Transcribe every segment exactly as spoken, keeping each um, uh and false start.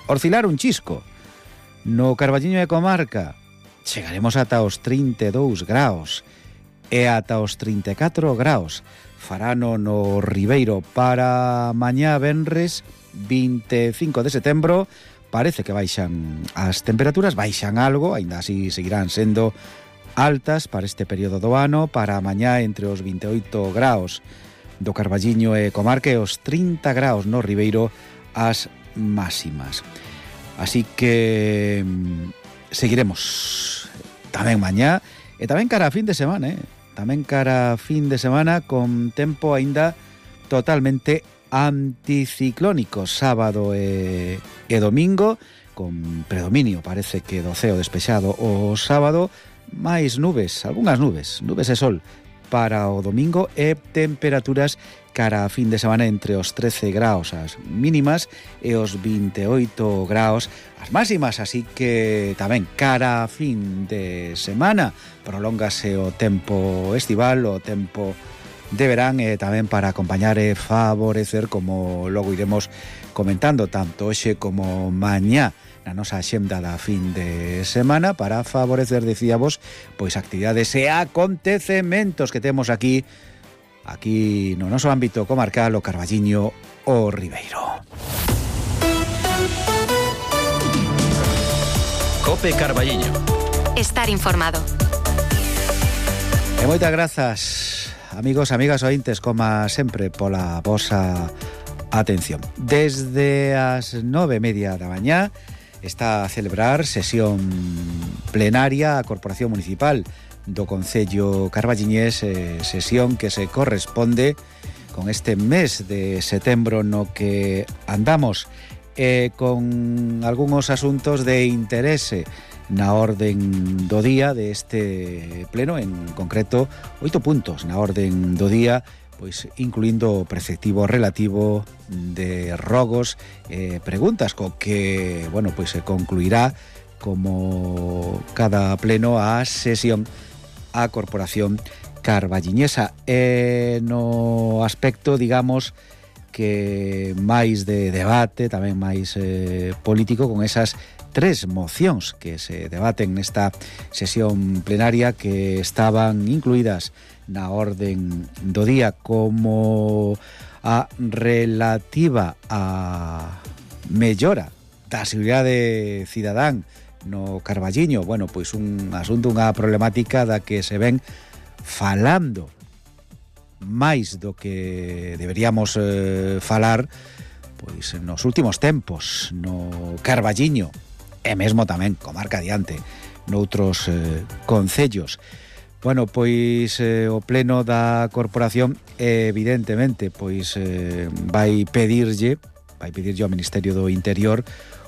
oscilar un chisco. No Carballiño e comarca chegaremos ata os trinta e dous graus e ata os trinta e catro graus. Farano no Ribeiro para mañá venres vinte e cinco de setembro. Parece que baixan as temperaturas, baixan algo, aínda así seguirán sendo altas para este período do ano. Para mañá entre os vinte e oito graus do Carballiño e comarca e os trinta graus no Ribeiro as máximas. Así que seguiremos tamén mañá e tamén cara a fin de semana, eh? tamén cara a fin de semana con tempo aínda totalmente anticiclónico, sábado e, e domingo, con predominio, parece que do ceo despexado o sábado, máis nubes, algunhas nubes, nubes e sol para o domingo e temperaturas cara a fin de semana entre os trece graus as mínimas e os vinte e oito graus as máximas, así que tamén cara a fin de semana prolóngase o tempo estival, o tempo de verán e tamén para acompañar e favorecer, como logo iremos comentando tanto hoxe como mañá na nosa axenda da fin de semana, para favorecer, dicíamos, pois actividades e acontecementos que temos aquí aquí no noso ámbito comarcal, o Carballiño o Ribeiro. Cope Carballiño. Estar informado. E moitas grazas, amigos, amigas ointes, como sempre, pola vosa atención. Desde as nove e media da mañá está a celebrar sesión plenaria a Corporación Municipal do Concello Carballiñés, eh, sesión que se corresponde con este mes de setembro no que andamos, eh, con algúns asuntos de interese na orden do día deste pleno, en concreto oito puntos na orden do día, pois incluindo o preceptivo relativo de rogos e eh, preguntas, co que, bueno, pois se concluirá como cada pleno a sesión a Corporación Carballiñesa. E no aspecto, digamos, que máis de debate, tamén máis eh, político, con esas tres mocións que se debaten nesta sesión plenaria que estaban incluídas na orden do día, como a relativa a mellora da seguridade cidadán no Carballiño. Bueno, pois un asunto, unha problemática da que se ven falando máis do que deberíamos eh, falar pois nos últimos tempos no Carballiño e mesmo tamén comarca adiante noutros eh, concellos. Bueno, pois eh, o pleno da corporación evidentemente pois eh, vai pedirlle vai pedirlle ao Ministerio do Interior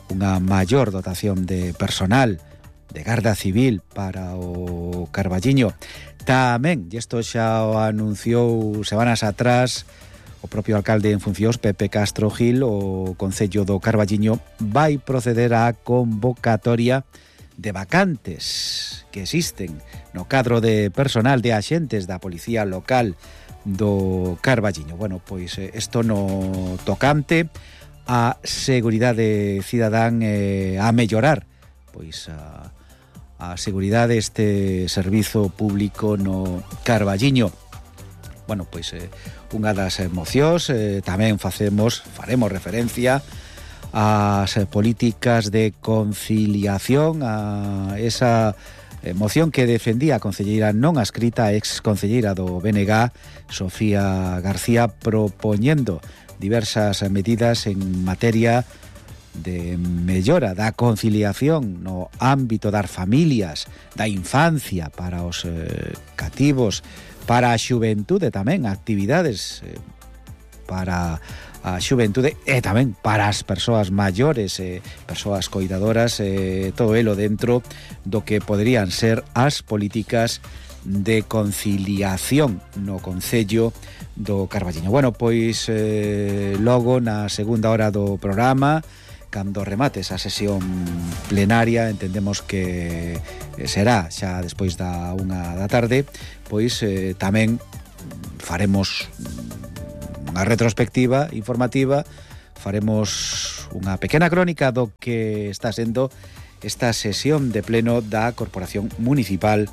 unha maior dotación de personal de Garda Civil para o Carballiño. Tamén, e isto xa o anunciou semanas atrás o propio alcalde en funcións, Pepe Castro Gil, o Concello do Carballiño vai proceder á convocatoria de vacantes que existen no cadro de personal de axentes da Policía Local do Carballiño. Bueno, pois isto no tocante a seguridade cidadán, eh, a mellorar pois a, a seguridade este servizo público no Carballiño. Bueno, pois eh, unha das mocións eh, tamén facemos faremos referencia ás políticas de conciliación, a esa moción que defendía a concelleira non adscrita, a ex concelleira do B N G, Sofía García, propoñendo diversas medidas en materia de mellora da conciliación no ámbito das familias, da infancia, para os eh, cativos, para a xuventude tamén, actividades eh, para a xuventude e tamén para as persoas maiores, eh, persoas coidadoras, eh, todo elo dentro do que poderían ser as políticas de conciliación no Concello do Carballiño. Bueno, pois eh, logo na segunda hora do programa, cando remate esa sesión plenaria, entendemos que será xa despois da unha da tarde, pois eh, tamén faremos unha retrospectiva informativa faremos unha pequena crónica do que está sendo esta sesión de pleno da Corporación Municipal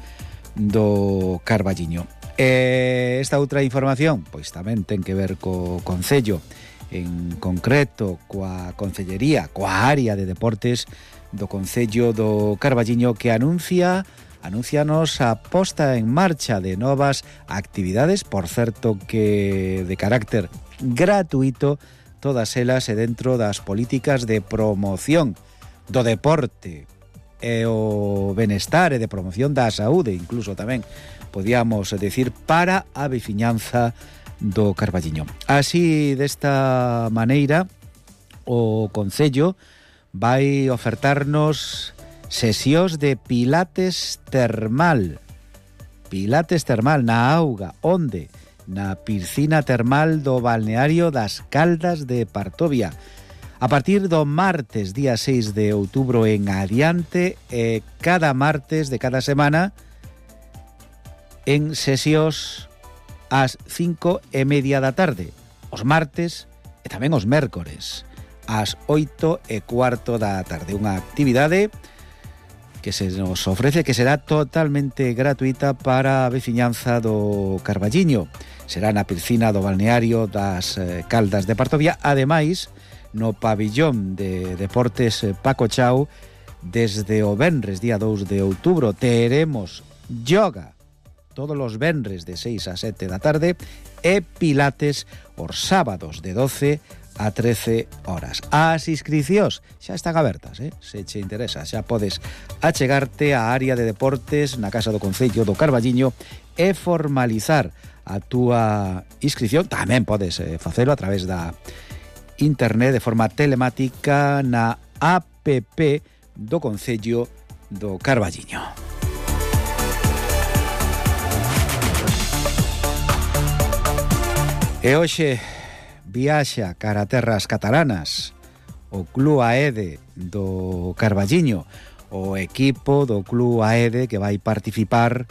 do Carballiño. E esta outra información, pois tamén ten que ver co Concello, en concreto coa Concellería, coa área de deportes do Concello do Carballiño, que anuncia anuncianos a posta en marcha de novas actividades, por certo que de carácter gratuito, todas elas e dentro das políticas de promoción do deporte e o benestar e de promoción da saúde, incluso tamén podíamos decir para a veciñanza do Carballiño. Así, desta maneira, o Concello vai ofertarnos sesións de pilates termal. Pilates termal na auga, onde? Na piscina termal do balneario das Caldas de Partovia. A partir do martes, día seis de outubro en adiante, e cada martes de cada semana en sesións ás cinco e media da tarde, os martes e tamén os mércores, ás oito e cuarto da tarde. Unha actividade que se nos ofrece, que será totalmente gratuita para a veciñanza do Carballiño. Será na piscina do balneario das Caldas de Partovia, ademais no pabillón de deportes Paco Chao, desde o venres, día dous de outubro, teremos yoga todos os venres de seis a sete da tarde e pilates os sábados de doce a trece horas. As inscricións xa están abertas, eh? Se che interesa, xa podes achegarte á área de deportes na Casa do Concello do Carballiño e formalizar a túa inscrición. Tamén podes eh, facelo a través da internet de forma telemática na app do Concello do Carballiño. E hoxe viaxa cara a terras catalanas o Club Aede do Carballiño, o equipo do Club Aede que vai participar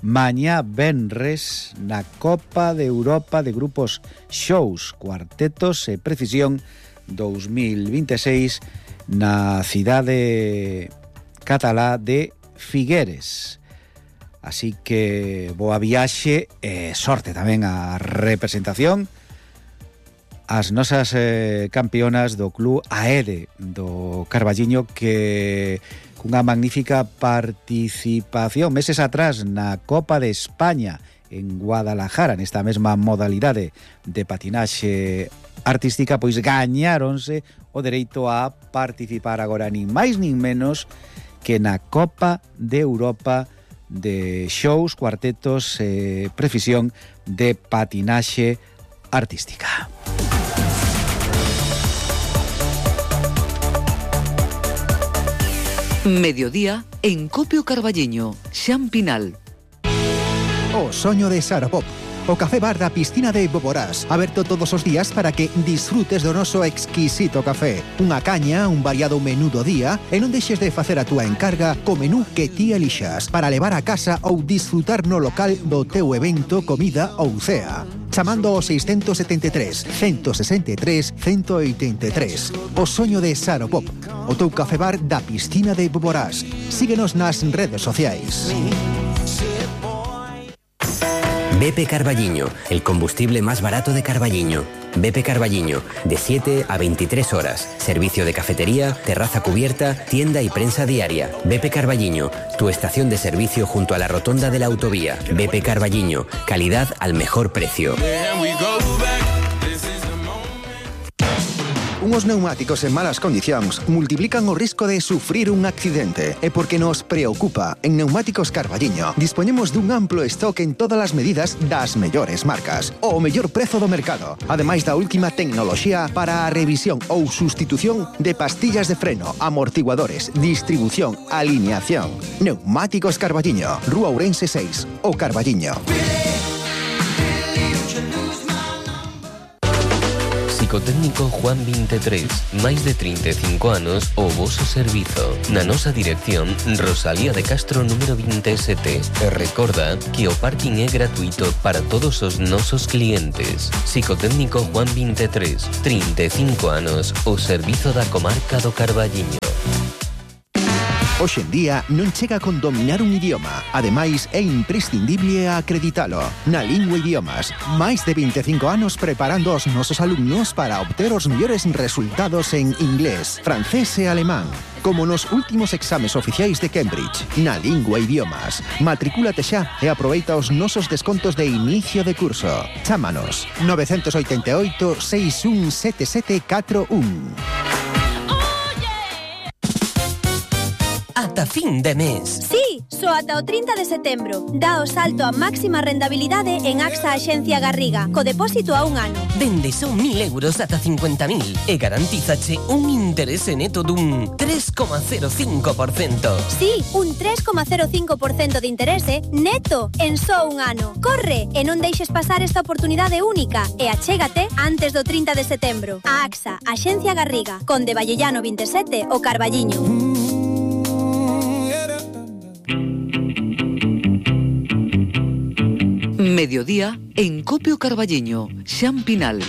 mañá venres na Copa de Europa de Grupos Shows, Cuartetos e Precisión dos mil vinte e seis na cidade catalá de Figueres. Así que boa viaxe e sorte tamén a representación as nosas eh, campeonas do Club Aede do Carballiño, que cunha magnífica participación meses atrás na Copa de España en Guadalajara, nesta mesma modalidade de patinaxe artística, pois gañáronse o dereito a participar agora nin máis nin menos que na Copa de Europa de shows, cuartetos e eh, precisión de patinaxe artística. Mediodía en Copio Carballiño, Xan Pinal. O soño de Saropop, o café bar da piscina de Boborás, aberto todos os días para que disfrutes do noso exquisito café. Unha caña, un variado menú do día, e non deixes de facer a túa encarga co menú que ti elixas, para levar a casa ou disfrutar no local do teu evento, comida ou cea. Chamando ao seiscentos setenta e tres, ciento sesenta e tres, ciento oitenta e tres. O soño de Saropop, o teu café bar da piscina de Boborás. Síguenos nas redes sociais. B P Carballiño, el combustible más barato de Carballiño. B P Carballiño, de siete a veintitrés horas. Servicio de cafetería, terraza cubierta, tienda y prensa diaria. B P Carballiño, tu estación de servicio junto a la rotonda de la autovía. B P Carballiño, calidad al mejor precio. Unhos neumáticos en malas condicións multiplican o risco de sufrir un accidente. E porque nos preocupa, en Neumáticos Carballiño dispoñemos dun amplo stock en todas as medidas das mellores marcas, o mellor prezo do mercado, ademais da última tecnoloxía para a revisión ou sustitución de pastillas de freno, amortiguadores, distribución, alineación. Neumáticos Carballiño, Rúa Ourense seis, o Carballiño. Psicotécnico Juan veintitrés, máis de treinta e cinco anos o voso servizo. Na nosa dirección, Rosalía de Castro número veintisiete. E recorda que o parking é gratuito para todos os nosos clientes. Psicotécnico Juan veintitrés, treinta e cinco anos, o servizo da comarca do Carballiño. Hoxe en día non chega con dominar un idioma. Ademais, é imprescindible acreditalo. Na Lingua Idiomas, máis de vinte e cinco anos preparando os nosos alumnos para obter os mellores resultados en inglés, francés e alemán. Como nos últimos exames oficiais de Cambridge. Na Lingua Idiomas. Matricúlate xa e aproveita os nosos descontos de inicio de curso. Chámanos nove oito oito, seis un sete sete catro un. Ata fin de mes. Sí, só ata o trinta de setembro. Dá o salto a máxima rendabilidade en AXA Axencia Garriga, co depósito a un ano. Dende son mil euros ata cincuenta mil e garantízache un interese neto dun tres coma cero cinco por cento. Sí, un tres coma cero cinco por cento de interese neto en só un ano. Corre e non deixes pasar esta oportunidade única e achégate antes do trinta de setembro. A AXA Axencia Garriga, Conde Vallellano veintisiete, o Carballiño. Mediodía en Copio Carballiño, Xan Pinal.